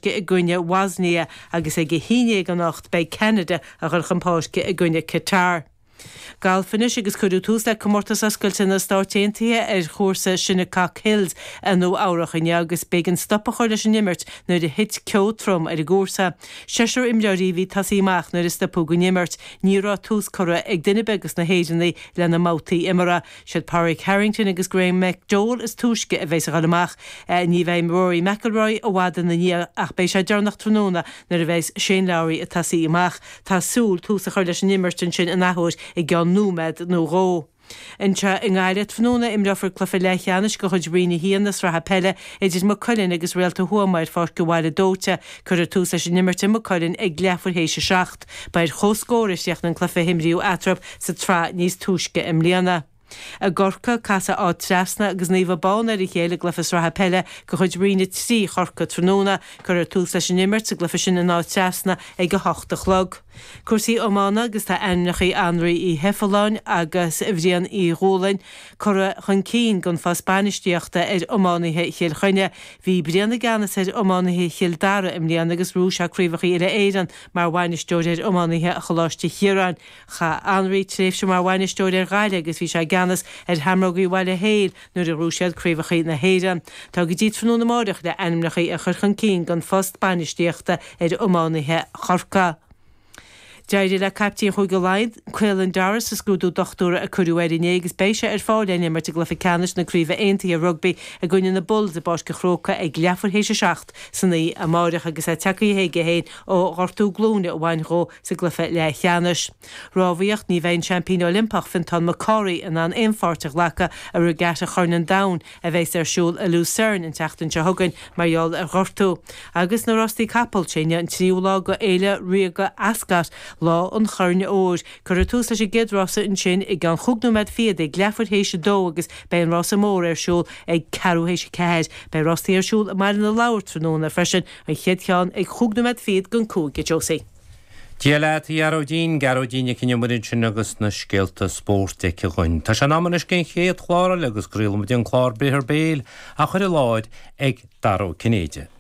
I gcoinne Bhosnia agus ag a haon dhéag anocht beidh Ceanada a dhul chun páirce i gcoinne Qatar. Galf anois agus cuireadh tús le Comórtas Oscailte na Stáit Aontaithe ar chúrsa Shinnecock Hills i Nua Eabhrach inniu agus b'éigean stop a chur leis an imirt nuair a thit ceo trom ar an gcúrsa. Seisear imreoirí a bhí ag tosaí amach nuair a stopadh an imirt. Ní raibh tús curtha ag duine ar bith de na hÉireannaigh lena mbabhtaí imeartha. Siad Pádraig Harrington agus Graham McDowell is túisce a bheas a dhul amach. Ní bheidh Rory McIlroy i bhfad ina ndiaidh ach beidh sé deireanach tráthnóna nuair a bheas Shane Lowry ag tosaí amach. Tá súil tús a chur leis an imirt ansin an athuair i gceann nóiméad nó dhó. Anseo i nGaillimh tráthnóna imreofar cluiche leathcheannais de chuid Roinn 1 na Sraithe Peile idir Maigh Cuilinn agus Réalta Thuama ar Pháirc an Bhaile Dóite. Cuirfear tús leis an imirt i Maigh Cuilinn ag leathuair théis a 7. Ba ar comhscór a chríochnaigh an cluiche a himríodh eatarthu sa tsraith níos túisce i mbliana. I gCorcaigh, casfaidh Áth Trasna agus Naomh Abán ar a chéile i gcluiche sraithe peile de chuid Roinn 3 Chorcaí tráthnóna. Cuirfear tús leis an imirt sa gcluiche sin in Áth Trasna ag 8 a chlog. Cúrsaí iomána agus tá ainmneacha Anraí Uí Sheifealláin agus Bhriain Uí Dhúlaing curtha chun cinn don phost bainistíochta ar iománaithe Chill Chainnigh. Bhí Brian i gceannas ar iománaithe Chill Dara i mbliana agus ghnóthaigh sé craobhacha uile-Éireann mar bhainisteoir ar iománaithe Choláiste Chiaráin. Chaith Anraí tréimhse mar bhainisteoir ar Ghaillimh agus bhí sé i gceannas ar Sheamrógaí Bhaile Héil nuair a ghnóthaigh siad craobhacha na hÉireann. Tá go dtí tráthnóna amáireach le ainmneacha a chur chun cinn don phost bainistíochta ar iománaithe Chorcaí. D'éirigh le caiptín Chúige Laighean, Caelan Doris, sa scrúdú dochtúra a cuireadh air inné agus beidh sé ar fáil le n-imirt i gcluiche ceannais na Craoibhe Aontaithe Rugbaí i gcoinne na Bulls i bPáirc an Chrócaigh ag leathuair théis a 7 san oíche amáireach agus é tagtha chuige féin ó ghortú glúine a bhain dhó sa gcluiche leathcheannais. Rámhaíocht, Ní bheidh an seaimpín Oilimpeach, Fintán McCorry, in ann aon pháirt a ghlacadh i Regatta Chorn an Domhain a bheas ar siúl i Lucerne an tseachtain seo chugainn mar gheall ar ghortú. Agus na rástaí capall, sé inniu an tríú lá de Fhéile Ríoga Ascot, lá an Choirn Óir. Cuirfear tús leis an gcéad rása ansin i gceann chúig nóiméad fichead ag leathuair théis a dó agus beidh an rása mór ar siúl ag ceathrú théis a ceathair. Beidh rástaí ar siúl i mBaile na Lobhar tráthnóna freisin, an chéad cheann ag chúig nóiméad fichead don cúig, a Josie. Dia leat, a Ghearóidín, Gearóidín Nic an Iomaire ansin agus na scéalta spóirt aici dhuinn. Tá sé in am anois don chéad chlár eile agus craolfaidh muid an clár Briathar Béil á chur i láthair ag Dara Ó Cinnéide.